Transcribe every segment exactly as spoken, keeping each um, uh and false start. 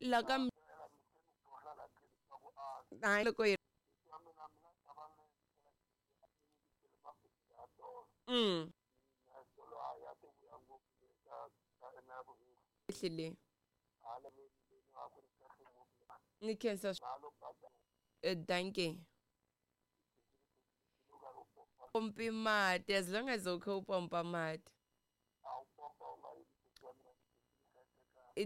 La ka hayi loko hi mm hlile ni khensa dankie pompi mati as long as ukho upompa mati.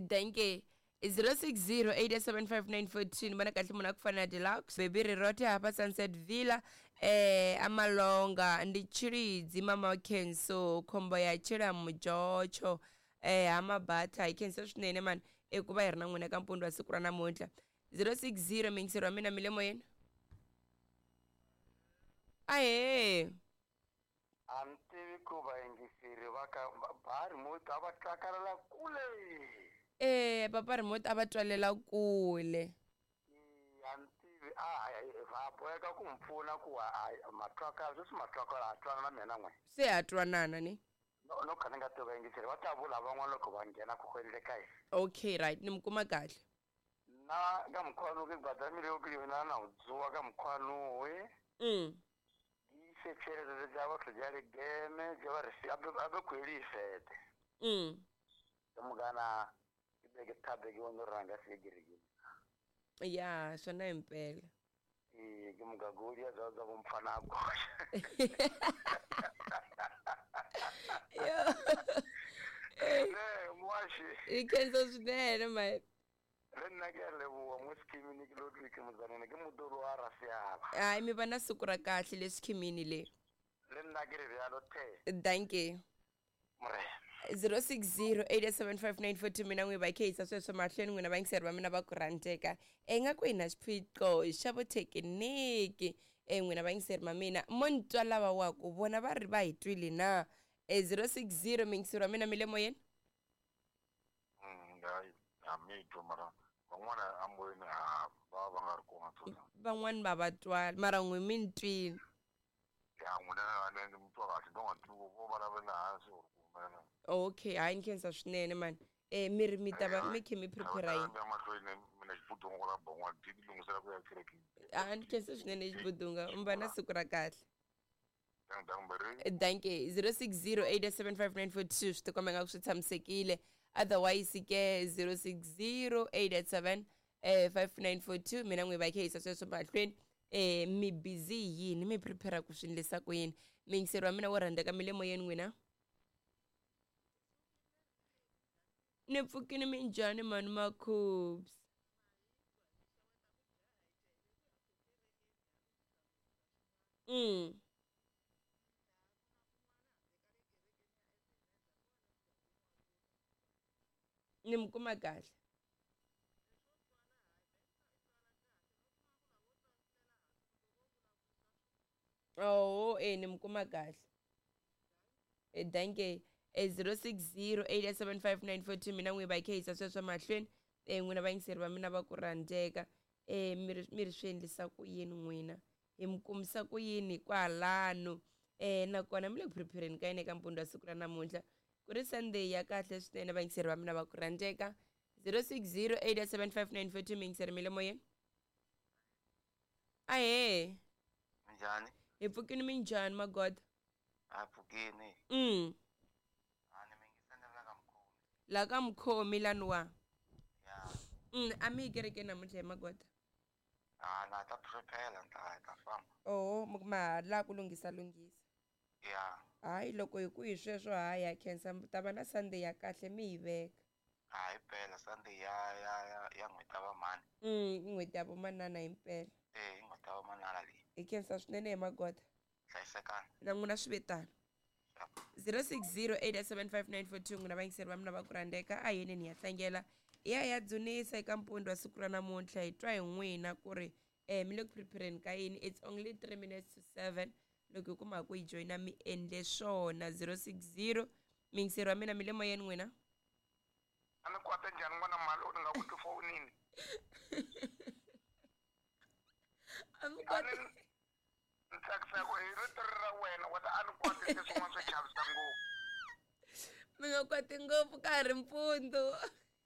Dankie. zero six zero eight seven five nine four two ni vona kahle munhu a ku fana na Deluxe Baby Rirote hapa Sunset Villa eh amalonga ndi Tshilidzi mama Kenso khombo ya tshila mujocho eh hamabatha hi khensa swinene mani eku va hi ri na n'wina ka mpundzu wa siku ra namuntlha. zero six zero mingisero wa mina mi le moyeni. Ahee a ni tivi ku vayingiseri va ka ba remote a va twakarela kule. Eh papa remote a va twalela kule. A ni tivi a va boheka ku mi pfuna ku matwakala sweswi matwakala ha twana na mina n'we se ha twanana ni no no kha ni nga tivi vayingiseri va ta vula van'wana loko va nghena ku endleka yini. Okay right ni mi kuma kahle na ka mkhwanu ke badamile yo ke yona na dzuwa ka mkhwanu we mm se tshelede dza batho ja le game ja ba re se abe kweli fete mm mugana ke be ke thabe ke ono ranga se girigi ya swona impela e ke mugagoli ya za za bomfana go yo eh mwashi ikenzo swinene my re nna ke a leboha mo schemini ke lo ke mozanene ke modoro wa rasiaba hayi mi va na siku ra kahle le schemini le le nna ke re bjalo the dankie zero six zero eight seven five nine four two mina n'wi va kheyisa sweswo mahlweni n'wina vayingiseri va mina va ku rhandzeka e nga ku hi na xiphiqo xa vuthekiniki e n'wina vayingiseri va mina mo ni twa lava wa ku vona va ri va hi twile na e zero six zero miyingiseri wa mina mi le moyeni. A mi twa mara van'wana amoyeni a va va nga ri kona tsona van'wani va va twala mara n'wi mi ni twile ya n'wina a ni mi twa kahle no nga twi vo vulavula hansi or ku humelela. Okay hayi ni khensa swinene mani eh mi ri mi ta va mi khe mi prepare yini mahlweni mina xibudunga la bon'wa ti lunghisela ku ya kerekeni. A ni khensa swinene xibudunga mi va na siku ra kahle. Dankie. zero six zero eight seven five nine four two swi tikomba nga ku swi tshamisekile otherwise ke zero six zero eight seven five nine four two mina n'wi va kheyisa sweswo mahlweni eh mi busy yini mi prepare ku swi endlisa ku yini miyingiseri wa mina wo rhandzeka mi le moyeni n'wina ni pfukini minjhani mani makhubs mm ni mi kuma kahle oh eh ni mi kuma kahle e dankie e zero six zero eight seven five nine four two mina n'wi va kheyisa sweswo mahlweni e n'wina vayingiseri va mina va ku rhandzeka e mi ri mi ri swi endlisa ku yini n'wina hi mi kumisa ku yini kwalano e nakona mi le ku prepareni ka yini eka mpundzu wa siku ra namuntlha ku ri Sunday ya kahle swinene vayingiseri va mina va ku rhandzeka zero six zero eight seven five nine four two miyingiseri mi le moyeni. Ahee minjhani hi pfukini minjhani magoda a pfukini mm a ni mingiseni la ka mukhomi la ka mukhomi laniwa ya mm a mi yi kerekeni namuntlha hi magoda a na ta prepare ni ta ta famba oho ma ha la ku lunghisa lunghisa ya hayi loko hi ku hi sweswo hayi ya khensa ta va na Sunday ya kahle mi yi veka hayi mpela Sunday ya ya ya ya n'hweti ya vamhani mm n'hweti ya vomanana himpela eh n'hweti ya vomanana leyi hi khensa swinene hi magoda hlayisekani na n'wina swi vetana zero six zero eight seven five nine four two n'wina vayingiseri va mina va ku rhandzeka a yini ni ya tlangela hi ya hi ya dzunisa eka mpundzu wa siku ra namuntlha hi twa hi n'wina ku ri eh mi le ku prepareni ka yini it's only three minutes to seven loko hi kuma ku hi joyina mi endle swona zero six zero miyingiseri wa mina mi le moyeni n'wina a ni kwata njhani n'wana mali u ni nga ku tifonini a mi kwati ni tsakisa ku hi rito ra wena wa ta a ni kwati leswin'wana swo chavisa ngopfu mi nga kwati ngopfu ka ha ri mpundzu.